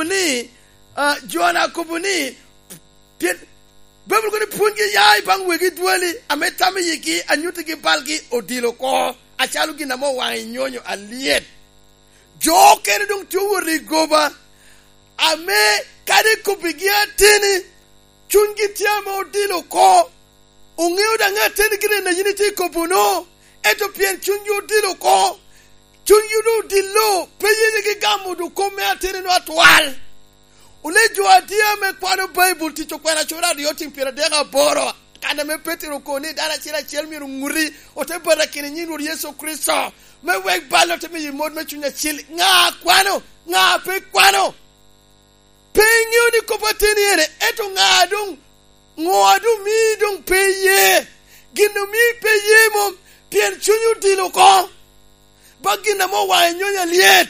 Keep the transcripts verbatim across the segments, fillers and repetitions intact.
ni, ah, Jona akobo ni, pien Baibul kono pwonygi ya i baŋ wegi dwali, ame tam i yigi, anyuttigi balgi odilo oko, acalo gin ame owaŋ i nyonyo alyet. Jo okene doŋ tye owot i goba, ame kadi ikobbigi ateni, cunygi tye ame odilo oko. Oŋeo daŋ ateni gire na yin itye i kobo-nu, ento pien cunygi odilo oko, cunygi doŋ odilo, pe yenyegi gamo doŋ kop me ateni-nu atwal. Wun jo adyea ame kwano Baibul, Tic Okwena acura aryo, tim pyeradek aboro, kan ame Petero okobo ni dano acel acel myero oŋuti, ote batakino i nyiŋ Rwot Yecu Kricito, me wek bal ote miyo mot me Cuny Acil. Ŋa kwano? Ŋa pe kwano? Pe iŋeo ni kop ateni ene, ento ŋa doŋ, ŋo a doŋ mii doŋ pe iye? Gin omii pe iye mom, pien cunyi odilo oko. Ba gin ame owaŋ i nyonyo alyet.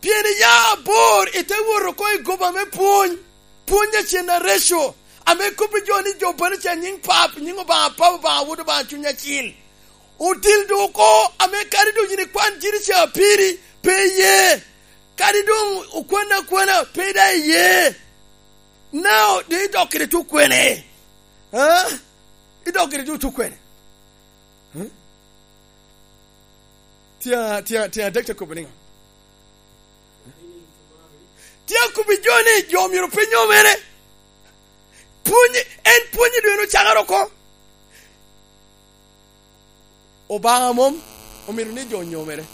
Pien iya abor, ite wot oko i goba me pwony, pwony a cen areco, ame kobbi jo ni jo bene ca nyiŋ Pap, nyiŋ Obaŋa Pap, Obaŋa Wod, Obaŋa Cuny Acil. Odil doŋ oko, ame kadi doŋ yin ikwan jiri ca piri, pe iye. Kadi doŋ okwan akwana, pe daŋ iye. Now, doŋ idok kede tukwene? Ha? Idok kede tukwene? Hmm? Tye, tye, tye adek te kobo niŋo? Tye akobbi jo ni jo myero pe nyomere. Pwony, en pwonye doŋ en ocakere oko. Obaŋa mom omito ni jo onyomere.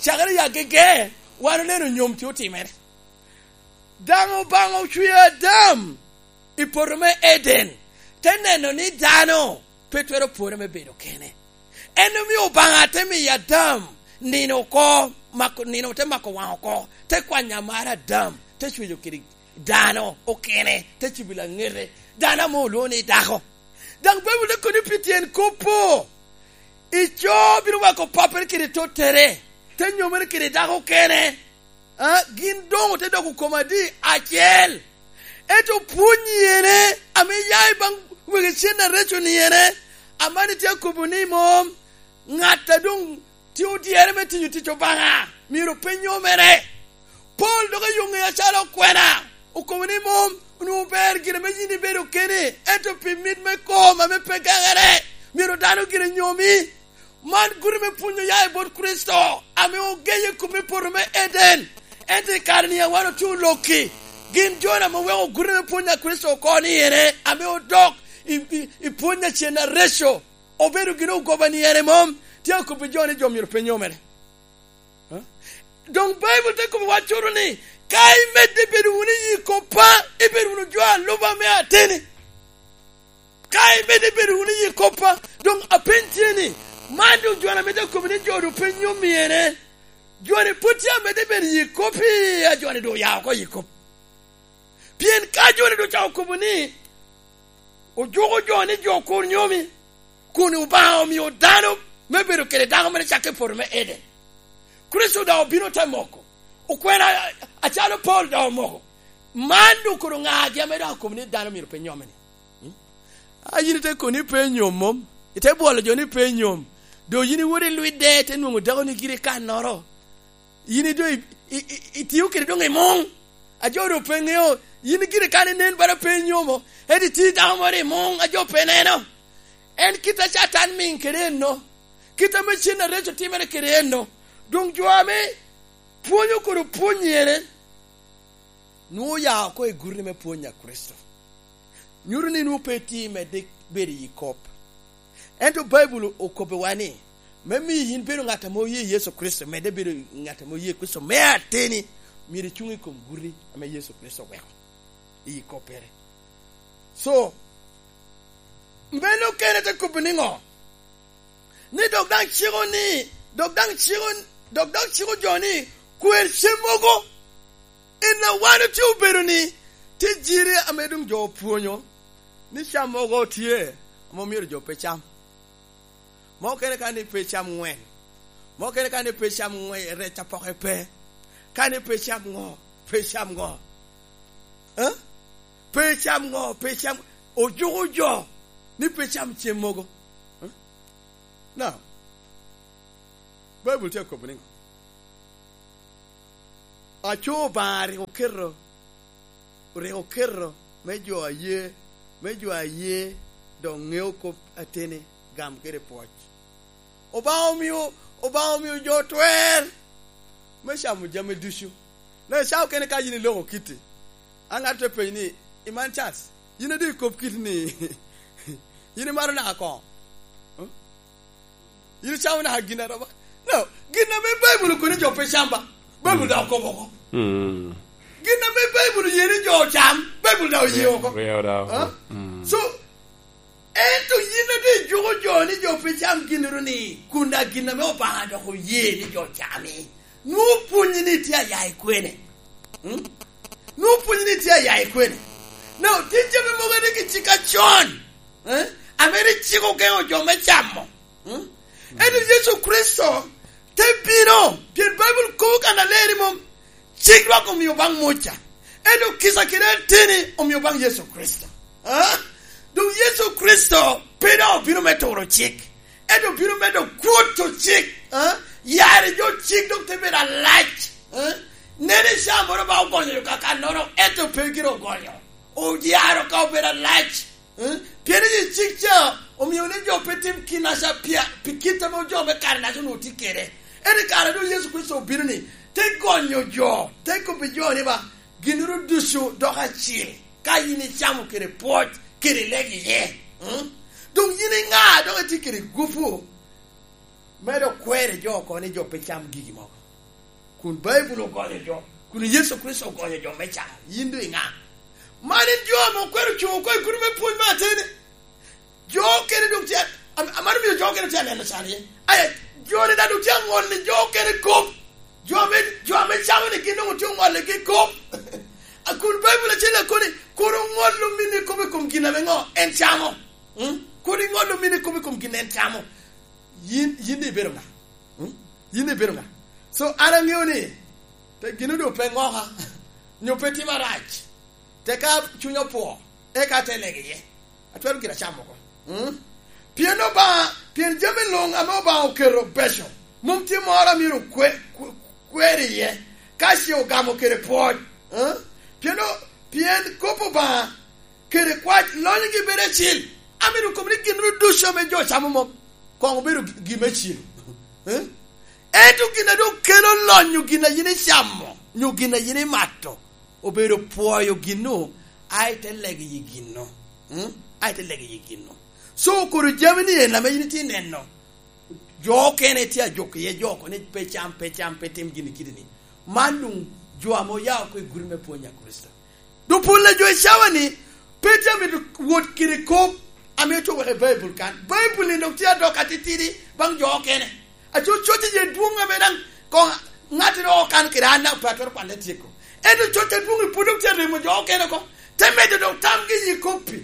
Cakere i agege, wan oneno nyom tye otimere. Daŋ Obaŋa ocweo Adam i poto me Eden, te neno ni dano pe twero pwore me bedo kene. En omio Obaŋa te miyo Adam nino oko, mako, nino te mako waŋ oko, te kwanyo amara Adam, te cweco kede dano okene, te cibo laŋete, dano ame olwoŋo ni dako. Daŋ Baibul te kobo ni pi tyen kop-pu, ico bino weko pappere kede tottere, te nyomere kede dako okene. A, gin doŋ ote doko kom adi? Acel. Ento pwony ene ame ya i baŋ wegi cen areco ni ene, aman itye akobo ni mom ŋat a doŋ tye odyere me tiyo tic Obaŋa myero pe nyomere. Paulo dok oyoŋe acalo okwena, okobo ni mom onwoŋo ber gire me yin ibedo keni, ento pi mit me kom ame pe geŋere, myero dano gire nyomi. Man guti me pwony oya i bot Kricito, ame ogeye i kom i poto me Eden. Ento i kare-ni a wan otye olokki, gin jo ame oweko guti me pwony a Kricito oko ni ene, ame odok i, i, i pwony a cen areco, obedo gin ogoba ni ene mom, tye akobbi jo ni jo myero pe nyomere. Ha? Doŋ Baibul te kobo waccuto ni, ka imedde bedo wunu i yi koppa, ibedo wunu jo a luba me ateni. Ka imedde bedo wunu i yi koppa, doŋ apeny tye ni, man doŋ jo-ni ame dok kobo ni jo doŋ pe nyom i ene, jo-ni pwod tye amedde bedo i yi kop, i a jo-ni doŋ oya oko i yi kop. Pien ka jo-ni doŋ ocako kobo ni, ojuko jo ni jo kur nyomi, kun Obaŋa omio dano me bedo kede dako mere cakke i poto me Eden. Kricito daŋ obino te moko. Okwena acalo Paulo daŋ omoko. Man doŋ kono ŋagi ame daŋ okobo ni dano myero pe nyome-ni? Hmm? A yin ite kono ni pe nyom mom? Ite bwolo jo ni pe nyom. Doŋ yin iwot i lwidde, ite nwoŋo dako-ni giri i kannoro. Yin idoŋ i-, i-, i-, itio kede doŋ i muŋ. A jo doŋ pe ŋeo, yin giri kan inen bala pe inyomo, ento itye dako moro i muŋ a jo pe neno. En kit a Catan miŋ kede enno, kit ame cen areco timere kede enno. Doŋ jo ame pwonyo kede pwony ene, nwoŋo oya oko i guti me pwony a Kricito. Nyuto ni nwoŋo pe itye i medde bedo i yi kop. Ento Baibul okobbiwa ni, me miyo yin bedo ŋat ame oye Yecu Kricito, medde bedo ŋat ame oye Kricito me ateni, myero icuŋ i kom guti ame Yecu Kricito oweko i koppere. So, meno kene te kobbi niŋo? Ni dok daŋ ciko ni, dok daŋ ciko, dok daŋ ciko jo ni, kwer cem mogo. En a wan otye obedo ni, tye jiri ame doŋ jo opwonyo ni cam mogo tye, ame omyero jo pe cam. Mo kene ka ni pe cam ŋwen. Mo kene ka ni pe cam ŋwen, rec apoke pe. Ka ni pe cam ŋo, pe cam ŋo. Eh? Pe cam ŋo, pe cam, ojuko jo ni pe cam cem mogo. Eh? Now, Baibul tye akobo niŋo? Aco Obaŋa rik oketo, rik oketo me jo aye, me jo aye dok ŋeo kop ateni gam kede pwoc. Obaŋa omio, Obaŋa omio jo twer me camo jami ducu. Na icao kene ka yin iloko kiti, a ŋat te penyo ni, "Iman Charles, yin adi kop kiti ni, yin imaro naka koŋo? Hmm? Yin icamo naka gin aroba?" No, gin ame Baibul okobo ni jo pe cam ba, Baibul daŋ okobo oko. Mm. Gin ame Baibul oye ni jo ocam, Baibul daŋ oye oko. Oye oko. Ah? Mm. So, ento yin ate juko jo ni jo pe cam ginnoro ni, kun daŋ gin ame Obaŋa dok oye ni jo ocami. Nwoŋo pwonyi ni tye aya i kwene? Hmm? Nwoŋo pwonyi ni tye aya i kwene? No, tye jami mogo rik i cik acon, eh? Ame rik cik ogeŋo jo me camo. Hmm? Ento Yecu Kricito te bino, pien Baibul kobo kan aleri mom, cik lwak omio baŋ Muca, ento kica kede ateni omio baŋ Yecu Kricito. Ah? Doŋ Yecu Kricito pe doŋ obino me turo cik, ento obino medo kwoto cik. Ah? Yare jo cik dok te bedo alac. Ah? Nene ca moro ba ogonyo yo kakannoro, ento pe gire ogonyo. Oyaro ka obedo alac. Eh? Pien i cik ca omio ni jo pe tim kinnaca pia-, pi kit ame jo me kare-naca onwoŋo tye kede. Ento i kare a doŋ Yecu Kricito obino ni, te gonyo jo, te kobbi jo ni ba, ginnoro ducu doko acil, ka yin icamo kede pwoc, kede lego iye. Mm? Doŋ yin iŋa, dok itye kede gupu me dok kwero jo oko ni jo pe cam gigi mogo? Kun Baibul ogonyo jo, kun Yecu Kricito ogonyo jo me can, yin doŋ iŋa? Man en jo ame okwero cuŋ oko i gudo me pwony me ateni. Jo okene doŋ tye, am-, amano miyo jo okene tye aneno can iye. Aya, jo-ni daŋ doŋ tye aŋolli jo okene kop. Jo ame, jo ame camo ni gin doŋ otye oŋolligi kop. A kun Baibul acel akoni, "Kur oŋol ominni kop i kom gin ame ŋo en camo." Mm? "Kur iŋol ominni kop i kom gin en camo." Yin, yin ibedo ŋa? Hmm? Yin ibedo ŋa? So, an aŋeo ni, te gino doŋ pe ŋoka, nyo pe tima rac, te ka cunya opwo, eka te lego iye. Atwero gira camo oko. Hmm? Pien Obaŋa, pien jami luŋ ame Obaŋa oketo beco, mom tye moro a myero kwe-, kwe-, kwer iye, ka ce ogamo kede pwoc. Hmm? Pien o-, pien kop Obaŋa kede kwac lonyogi bedo acil. Amito kobo ni gin ducu ame jo camo mom koŋ obedo gi-, gin me cilo. Eh? Ento gin a doŋ kelo lonyo gin a yin icamo, nyo gin a yin imato, obedo pwoyo ginnu, a ite lego i ginnu. Hmm? A ite lego i ginnu. So, koro jami ni en ame yin itye neno, jo okene tye ajok iye jo oko ni pe cam, pe cam, pe tim gini kidi ni. Man luŋ jo ame oya oko i gudo me pwony a Kricito. Doŋ pol a jo i cawa ni, pe tye amito wot kede kop ame otye oweko i Baibul kan. Baibul ni dok tye adok atitidi baŋ jo okene. Aco coc iye dwoŋ ame daŋ koŋ ŋattoro okan kede an daŋ pe atwero kwane tyeko. Ento coc adwoŋ i pwod dok tye aremo jo okene oko. Te medo dok tamgi i kop-pi.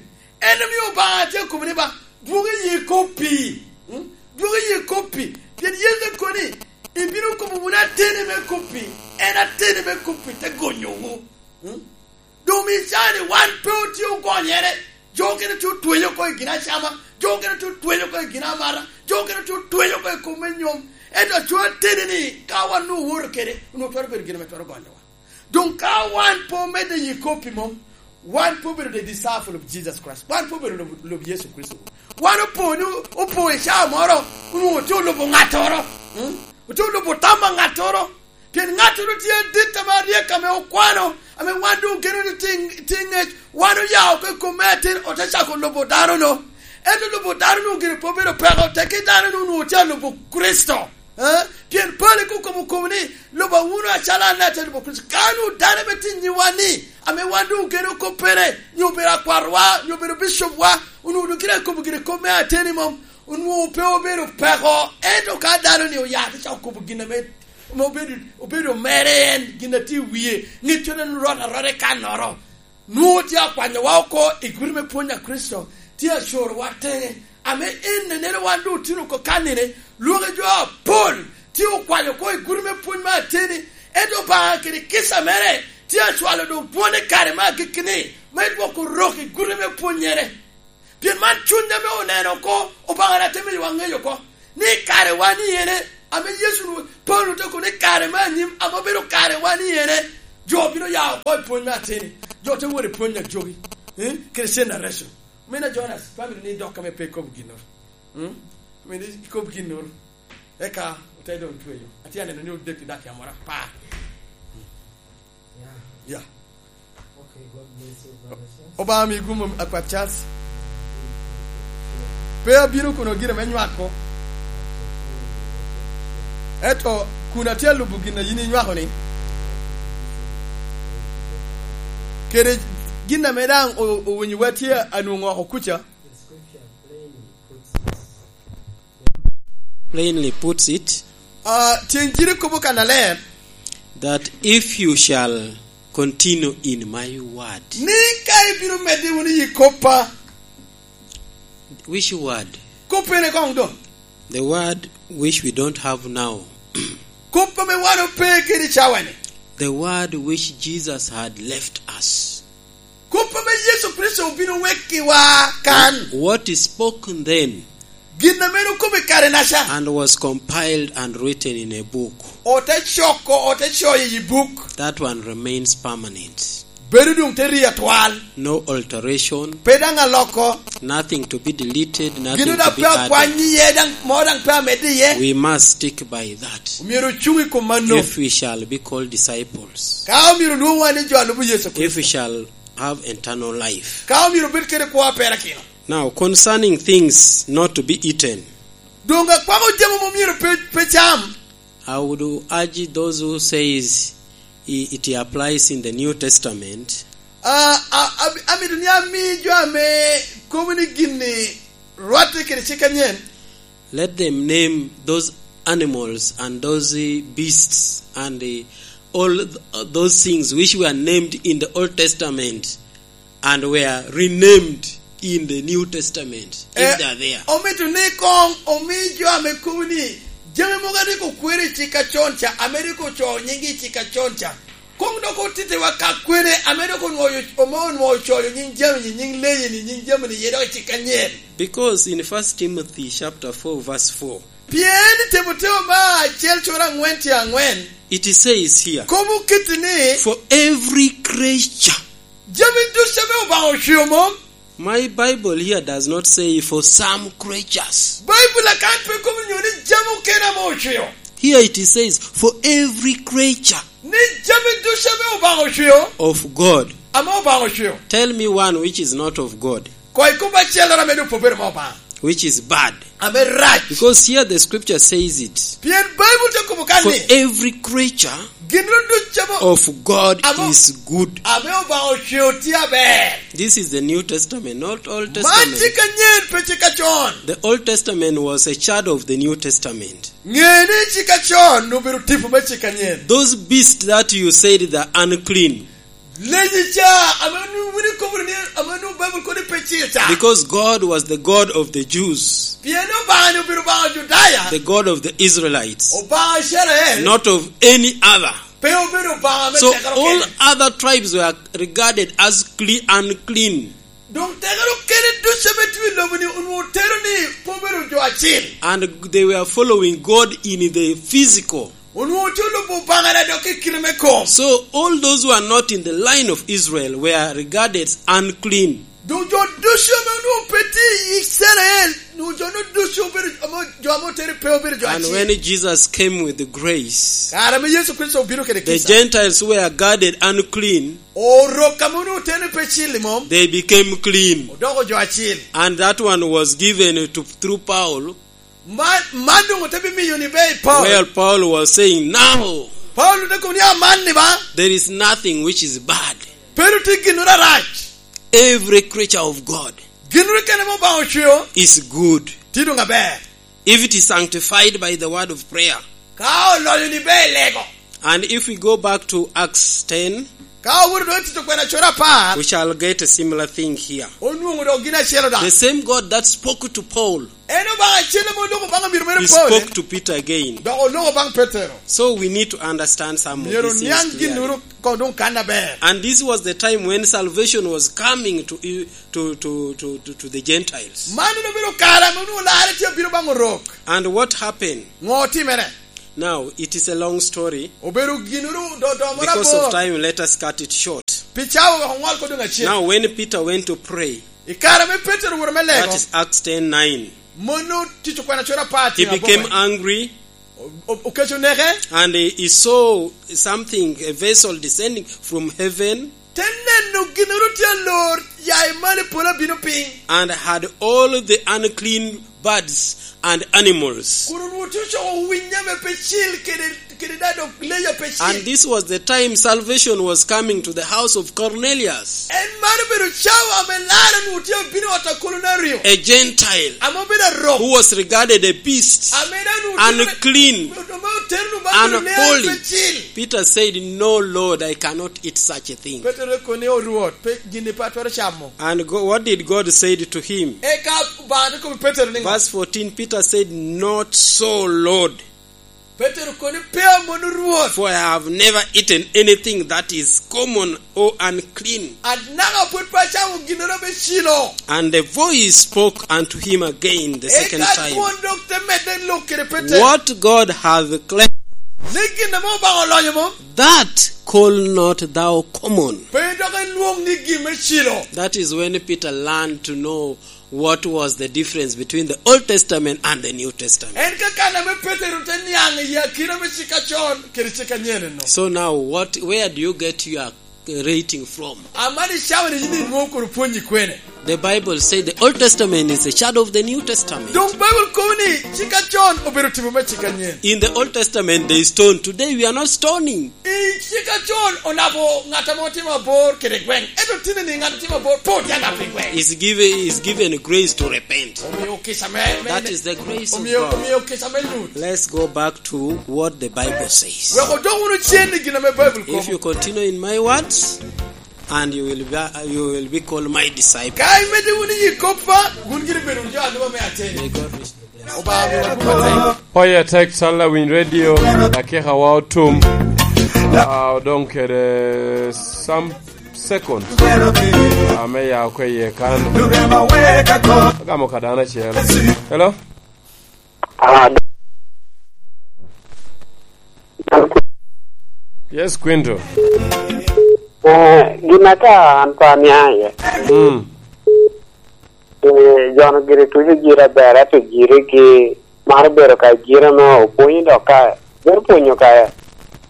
En omio Obaŋa tye akobo ni ba, dwog i yi kop-pi. Mm? Dwog i yi kop-pi. Pien Yecu akoni, ibino kobo wunu ateni me kop-pi. En ateni me kop-pi te gonyowu. Mm? Doŋ i caa-ni wan pe otye ogonyere. Jo okene tye otweyo oko i gin acama. Jo okene tye otweyo oko i gin amata. Jo okene tye otweyo oko i kom me nyom. Ento aco ateni-ni, ka wan onwoŋo owoto kede, onwoŋo twero bedo gin ame twero gonyowa. Doŋ ka wan pe omedde i kop-pi mom, wan pe obedo the disciple of Jesus Christ. Wan pe obedo lub, lub Yecu Kricito. Wan opo ni, opo i caa moro, onwoŋo otye olubo ŋattoro. Mm? Otye olubo tam a ŋattoro. Pien ŋattoro tye adit ame aryek ame okwano, ame wan doŋ ogeno ni tye, tye ŋec. Wan oya oko i kom me atin, ote cako lubo dano-nu. Ento lubo dano-nu gire pe obedo peko, tekki dano-nu onwoŋo tye alubo Kricito. Eh? Pien pali kokobo kobo ni, "Luba wunu acalo an ate lubo Kricito." Ka nu dano ame tye nyiwa ni, ame wan doŋ ogeno koppere, nyo obedo akwarwa, nyo obedo bicopwa, onwoŋo doŋ kite akobo gire kop me ateni mom, onwoŋo pe obedo peko. Ento ka dano ni oya te cako kobo gin ame, ame obedo, obedo mere en, gin a tye i wie, ŋeccone rot arot i kannoro. Nwoŋo tye akwanyowa oko i gudo me pwony a Kricito, tye acorowa teŋe, ame en eneno wan doŋ otino oko kannine, lwak a jo apol tye okwanyo oko i gudo me pwony me ateni, ento Obaŋa kede kica mere tye acwalo doŋ dwone kare me agikki-ni, me dwoko rok i gudo me pwonnyere. Pien man cuny ame oneno oko, Obaŋa rik te miyowa ŋeyo oko, ni kare wan iyene, Ame Yecu, Paulo te kobo ni kare me anyim, ame obedo kare wan i ene, jo bino ya oko i pwony me ateni. Jo te wot i pwony ajogi. Eh? Christian narration. Mina Jonas, family ni dok ame pe ikobo ginnoro. Hmm? Mini ikobo ginnoro. Eka ote doŋ tweyo. Atye aneno ni odek i dak yam ora par. Yeah. Yeah. Okay, God bless you, Brother Charles. Obaŋa mi gum akwat Charles. Pe abino kuno gire me nywako. Eto kun atye alubo gin a yin inywako ni. Kede gin ame daŋ o-, owinyowa tye anwoŋo oko kuca. Plainly puts it, ah, Tyeng Jiri kobo kannaler that if you shall continue in my word, ni ka ibino medde wunu i koppa. Which word? Kop ene koŋ doŋ? The word which we don't have now. Kop ame wan ope kede i cawani. The word which Jesus had left us. Kop ame Yecu Kricito obino wekkiwa kan. What is spoken then? Gin ame en okobo i kare-naca. And was compiled and written in a book. Ote coko, ote coyo i buk. That one remains permanent. Bedo doŋ te ri atwal. No alteration. Pe daŋ aloko. Nothing to be deleted, nothing to be added. Gin daŋ pe akwany iye, daŋ, mo daŋ pe amedde iye. We must stick by that. Myero ocuŋ i kom mano. If we shall be called disciples. Ka omyero olwoŋwa ni jo a lubo Yecu Kricito. If we shall have eternal life. Ka omyero obed kede kwo a perakino. Now, concerning things not to be eaten, doŋ akwako jami ame myero pe, pe cam. I would urge those who says i-, it applies in the New Testament. Ah, ah, ab-, amito ni ami jo ame kobo ni gin-ni rwatte kede cik anyen. Let them name those animals and those, eh, beasts and, eh, all th-, those things which were named in the Old Testament and were renamed in the New Testament, if they are there. Eh, omito ni koŋ omi jo ame kobo ni jami mogo a rik okwero i cik acon ca, ame rik ocoo nyinggi i cik acon ca, koŋ dok otittiwa ka kwene ame dok onwoŋo, ame onwoŋo ocoyo nying jami-ni, nying leyi-ni, nying jami-ni iye dok i cik anyen. Because in First Timothy chapter four verse four, pien i Timotheo me acel cura aŋwen tye aŋwen, it says here, kobo kiti ni, for every creature. Jami ducu ame Obaŋa ocweo mom? My Bible here does not say for some creatures. Baibul akan pe kobo nyo ni jami okene ame ocweo. Here it says, for every creature. Ni jami ducu ame Obaŋa ocweo. Of God. Ame Obaŋa ocweo. Tell me one which is not of God. Koŋ ikob acelloro ame doŋ pe obedo me Obaŋa. Which is bad. Ame rac. Because here the scripture says it. Pien Baibul te kobo kan ni, for every creature, gin ducu ame, of God, ame, is good. Ame Obaŋa ocweo tye aber. This is the New Testament, not Old Testament. Man cik anyen, pe cik acon. The Old Testament was a shadow of the New Testament. Ŋe ni cik acon obedo tipo me cik anyen. Those beasts that you said they are unclean. Leyi ca, ame nu-, wun ikobo ni, ame nu Baibul kodi pe cil ca. Because God was the God of the Jews. Pien Obaŋa ni obedo Obaŋa Ojudaya. The God of the Israelites. Obaŋa Icrael. Not of any other. Pe obedo Obaŋa me tekere okene. So all other tribes were regarded as cle-, unclean. Doŋ tekere okene ducu ame tye i lobo-ni onwoŋo tero ni pe obedo jo acil. And they were following God in the physical. Onwoŋo tye olubo Obaŋa dok i kite me kom. So all those who are not in the line of Israel were regarded as unclean. Doŋ jo ducu ame onwoŋo pe tye i Icrael, onwoŋo jo-nu ducu obedo, ame, jo ame otero pe obedo jo acil. And when Jesus came with the grace, kare ame Yecu Kricito obino kede kica, the Gentiles who were regarded unclean, Orok ame onwoŋo otero pe cil i mom, they became clean. Odoko jo acil. And that one was given to, through Paul. Man, man doŋ ote bimiyo ni be i Paulo. Well, Paul was saying, now, Paulo te kobo ni aman ni ba, there is nothing which is bad. Pe doŋ tye ginnoro arac. Every creature of God, ginnoro kene ame Obaŋa ocweo, is good. Tye doŋ aber. If it is sanctified by the word of prayer. Ka oloyo ni be i lego. And if we go back to Acts ten, ka owoto doŋ i Tic Okwena cura apar, we shall get a similar thing here. Onwoŋo doŋ gin acel daŋ. The same God that spoke to Paul, en Obaŋa acel ame oloko baŋ amiro mere Paulo, he spoke to Peter again. Dok oloko baŋ Petero. So we need to understand some of these things clearly. Myero oniaŋ ginnoro koŋ doŋ kan aber. And this was the time when salvation was coming to, to, to the Gentiles. Man en obedo kare ame onwoŋo larre tye abino baŋ Orok. And what happened? Ŋo otimere? Now, it is a long story. Obedo ginoro do-, do moro Because of abor. Time, let us cut it short. Pi cawa wek oŋwal kodo ŋacel. Now, when Peter went to pray, I kare me Petero owoto me lego, that is Acts ten nine. Mono Tic Okwena cura apar, he became angry. O-, o-, okeco neke. And he, he saw something, a vessel descending from heaven. Te neno ginoro tye alor ya i malo i polo abino piny. And had all the unclean birds and animals. Kun onwoŋo tye ocoko winyo ame pe cil kede, kede daŋ dok leyo pe cil. And this was the time salvation was coming to the house of Cornelius. En man obedo cawa ame lar onwoŋo tye abino i ot a Kolonario. A Gentile. Ame obedo arok. Who was regarded a beast. Ame daŋ onwoŋo tye unclean, ame otero onwoŋo man obedo leyo pe cil. Peter said, "No, Lord, I cannot eat such a thing." Petero te kono ni, "O Rwot, pe, gin-ni pe atwero camo." And go-, what did God say to him? Eka Obaŋa te kobbi Petero niŋo? Verse fourteen, Peter said, "Not so, Lord." Petero kono ni, "Pe amono, Rwot." "For I have never eaten anything that is common or unclean." Anaka pwod pe acamo ginnoro me cilo. And the voice spoke unto him again the second time. Eka dwon dok te medde lok kede Petero. "What God hath cleansed, ni gin ame Obaŋa olonyo mom, that call not thou common." Pe dok ilwoŋ ni gin me cilo. That is when Peter learned to know what was the difference between the Old Testament and the New Testament. En ka kan ame Petero te niaŋ i akina me cik acon kede cik anyen eno. So now, what, where do you get your rating from? Amani cawa ni yin inwoŋo kono pwonyi kwene? The Bible said the Old Testament is a shadow of the New Testament. Doŋ Baibul kobo ni cik acon obedo tipo me cik anyen. In the Old Testament, they stone. Today, we are not stoning. I cik acon onabo ŋat ame otimo abor kede gweŋ. Ento tine ni ŋat otimo abor, pe otye anabo i gweŋ. Is given, is given grace to repent. Omio kica me, me, That is the grace of God. Omio kica me lut. Let's go back to what the Bible says. Wek odok wunu cen i gin ame Baibul kobo. If you continue in my words, and you will be, you will be called my disciple. Ka imedde wunu i koppa, wun gire bedo jo aluba me ateni. May God richly bless you. Obaŋa omiwa kwo atek. Oye tek talla winy radio, dakika wa otum. Ah, odong kede some seconds. Ah, me ya okwe iye kan. Agamo ka dano acel. Hello? Ah, Yes, Quinto. Eh, gin ata an pe aniaŋ iye. Mm. Eh, jo-nu gire tuco jire aber, ento jire gi maro bedo ka jire me opwonyo dok ka, bedo pwonyo ka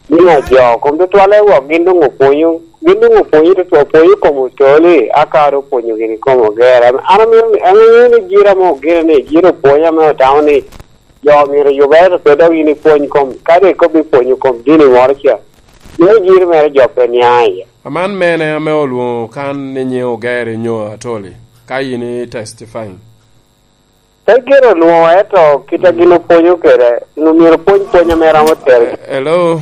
niŋ ajo kom tutwalle wok gin doŋ opwonyo, gin doŋ opwonyo tutwal, opwonyo kom otoli, aka dok opwonyo gini kom oger. An amito ni, an aŋeyo ni jire ame ogire ni, jire opwonyo ame otamo ni jo myero oyubere, to pe dok in ipwony kom, ka dok ikobbi pwonyo kom dini moro ca, mio jiri mere jo pe niaŋ iye. Aman mene ame olwoŋo kan ni nyiŋ Ogere nyo Atoli, ka in i testifying? Pe gire olwoŋo, ento kit a gin opwonyo kede, myero opwony pwony ame romo tero. Eh, hello?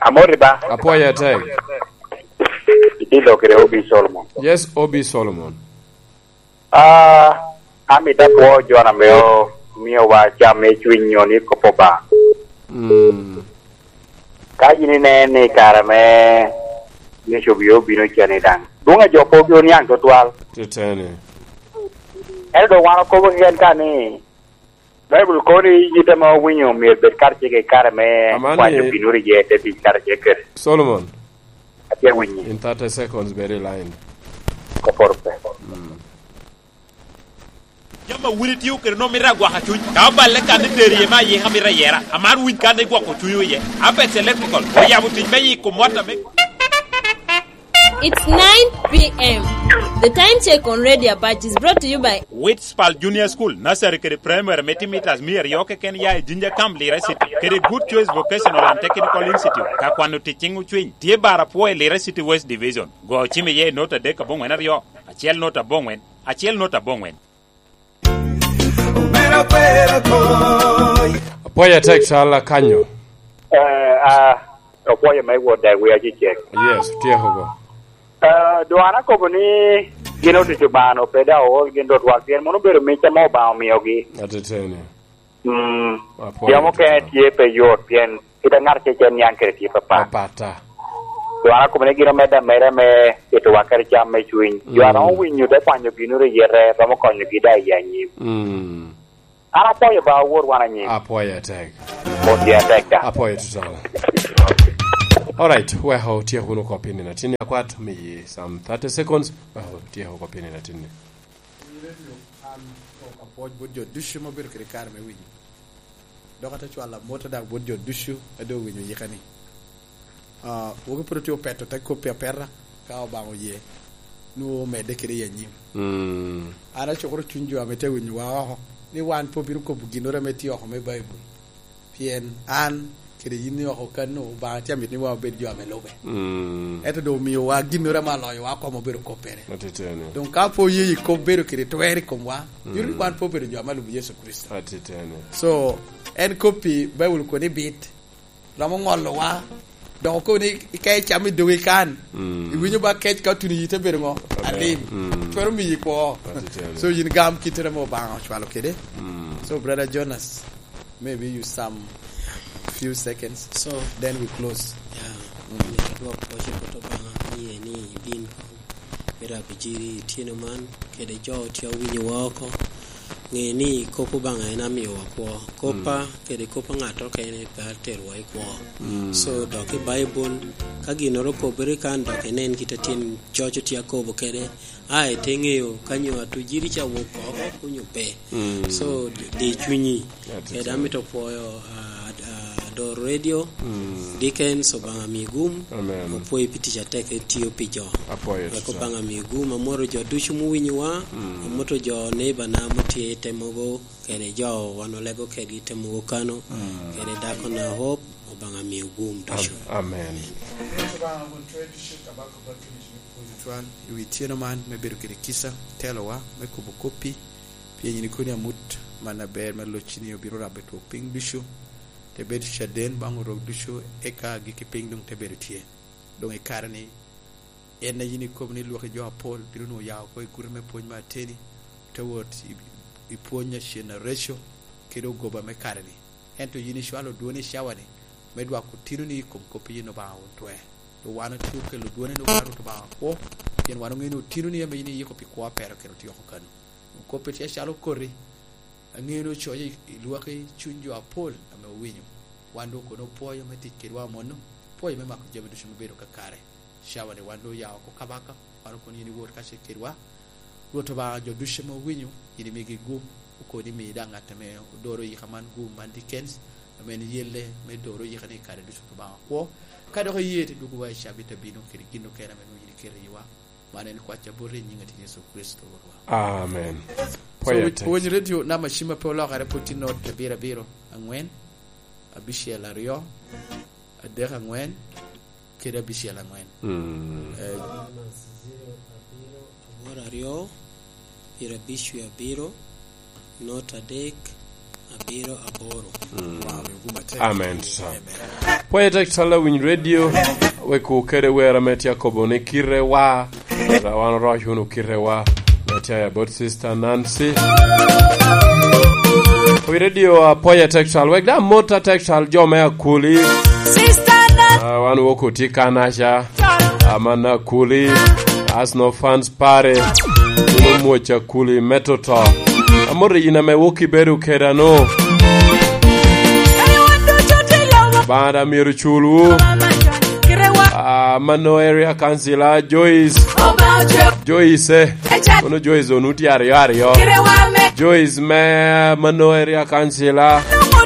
Amoti ba? Apwoyo atek. Itye lok kede Obi Solomon. Yes, Obi Solomon. Ah, amito apwo jo ame omiowa cam me cwiny nyo ni kop Obaŋa. Mm. Ka yin ineno ni kare me Yecu obio obino cen i daŋ, dwoŋ a jo pe obino niaŋ tutwal. Teteni. Ento doŋ wan okobo keken ka ni, Baibul kono ni yit ame owinyo myero bed karacel i kare me Amani kwanyo binuru iye te tic karacel kede. Solomon. Atye winyi. In thirty seconds, bed i line. Koporo pe. Mm. Jami a wun itio kede nwoŋo mito agwaka cuny. Ka oballe kan ni tero iye me ayika mito ayera, amaro winy kan ni gwoko cunywu iye. Apex Electrical oyabo tic me yiko mot ame It's nine p m. The time check on Radio Apache is brought to you by Witspal Junior School, Nursery kede Primary me timo mitas mia aryo keken ya i Jinja Camp, Lira City, kede Good Choice Vocational and Technical Institute. Ka kwano tic ciŋ ocwiny, tye bar apwo i Lira City West Division. Go ocim iye i not adek aboŋwen aryo, acel not aboŋwen, acel not aboŋwen. Apwoyo atek, Calla kanyo. Eh, ah, apwoyo me wot dek wi acecek. Yes, otyeko go. Eh, dwan akobo ni gin otic Obaŋa pe daŋ ool gin tutwal, pien mono obedo mic ame Obaŋa omiogi. Ateteni. Mm. Apwoyo jo mukene atek. Tye pe yot, pien kit a ŋat acel niaŋ kede tye papat. Papat ta. Dwan akobo ni gin omedde ameda me tito wa kede cam me cwiny. Jo a romo winyo te kwanyo ginoro i yete, romo konyogi daŋ i anyim. Mm. An apwoyo ba awot wan anyim. Apwoyo atek. Mot ya tek da. Apoyo tutwal. Alright, wek otyek wunu oko piny nino atin akwat, miyi some thirty seconds, wek otyek oko piny nino atin ni. An apwoc bot jo ducu ma obedo kede kare me winyo. Dok ate cwalo amot ada bot jo ducu a doŋ owinyo yika ni. Ah, woki pwod otye opeto te koppi apeta, ka Obaŋa oye, nwoŋo omedde kede i anyim. Mm. An acukoro cuny jo ame tye winyowa oko, ni wan pe obino kobo ginnoro ame tye oko me Baibul. Pien an kede yin ni oko kano, Obaŋa tye amito ni wan obed jo ame lube. Mm. Ento doŋ omiowa ginnoro ame aloyowa komo obedo koppere. Atiteni. Doŋ ka pe oye i kop bedo kede twer i komwa, mm, nyuto ni wan pe obedo jo ame alubo Yecu Kricito. Atiteni. So, en koppi Baibul kono ni bit, romo ŋolowa, dok okobo ni ka icamo i dogi kan, mm, iwinyo ba kec ka otuno iyi te bedo ŋo? Amen. Alim. Mm. Twero miyi kwo. Atiteni. So, yin gam kittere ame Obaŋa ocwalo kede. Mm. So, Brother Jonas, maybe you some few seconds, so then we close. Yeah. Mm. Myero adwok pwoc i bot Obaŋa, ni en ni ibin kong. Myero abijiri itino man, kede jo tye owinyowa oko. Ŋe ni kop Obaŋa en amiowa kwo. Koppa, mm, kede kop a ŋat okene pe aterowa i kwo. Mm. So, dok i Baibul, ka ginnoro okobere kan, dok inen kit a tyen coc tye akobo kede, a ite ŋeyo ka nyo atujiri ca wok oko, onyo pe. Mm. So, di, di cunyi. Atiteni. Kede amito pwoyo, ah, ah, Ador Radio, mm, Dickens, Obaŋa mi gum. Amen. Apwoyo pi tic atek etiyo pi jo. Apwoyo. Wek tutwal. Obaŋa mi gum, amoto jo ducu muwinyowa, mm, amoto jo neighbor na mutye i te mogo, kede jo wan olego kedgi i te mogo kano, mm, kede dako na Hope, Obaŋa mi gum ducu. Am-, amen. Obaŋa won twer ducu, kabaka bot kede cunyi pwod tutwal, i wi tyeno man me bedo kede kica, telowa, me kobo koppi, Pien yin ikoni amut man aber me locci ni obino rabo i twok piny ducu, te bedo caden baŋ orok ducu, eka agikki piny doŋ te bedo tye. Doŋ i kare-ni, en a yin ikobo ni Lwak i jo apol bino nwoŋo ya oko i guti me pwony me ateni, te wot i, i pwony a cen areco, kede ogoba me kare-ni. Ento yin icwalo dwoni i cawa-ni, me dwako tinoni i kom kop a yin Obaŋa won twer. Doŋ wan otye okelo dwoni ni Obaŋa Rwot Obaŋa kwo, pien wan oŋeo ni otinoni ame yin iyiko pi kwo a pero kede otye oko kano. Doŋ kop-pi tye acalo okoti, aŋeo ni ocoyo i, i lwaki cuny jo apol ame owinyo. Wan doŋ kono opwoyo me tic kedwa amono, opwoyo me mako jami ducu ame bedo kakare. Cawa-ni wan doŋ oya oko kabaka, wan okono yin iwot kacel kedwa. Rwot Obaŋa, jo ducu ame owinyo, yin imigi gum, okono imi daŋ ŋat ame odoro yika man gum man Dickens, ame en yelle me doro yika ni i kare ducu Rwot Obaŋa kwo. Ka dok iye, te dwogo wa i cabit abino kede gin okene ame nwoŋo yin iketo iwa. Man en kwacca boti i nyiŋ Ateni Yecu Kricito Rwotwa. Amen. So, pwoyo wi-, atek. Pwony redio namba cim a pe olokere pwod tye not abiro abiro, aŋwen, abicel aryo, adek aŋwen, kede abicel aŋwen. Mm. Eh, aboro aryo, pyerabic wie abiro, not adek, abiro aboro. Mm. Wow, oyo gum atek. Amen, sir. Amen. Pwoyo atek, tala winy radio, wek kede wer ame tye akobo ni kite wa. Wan oroc wunu kite wa. Ame tye about Sister Nancy. Wi radio, uh, apwoyo atek cal. Wek da mot atek cal jo me Akuli. Sister Nancy. Uh, wan wok otye kanaca. Aman Akuli. Arsenal fans pare. Unu mwoc Akuli me toto. Amot yin ame wok ibedo keda no. Banda myero culwu. Ah, Mano Area Councilor Joyce. Joyce, eh. Kono Joyce onu tye aryo aryo. Joyce me Mano Area Councilor.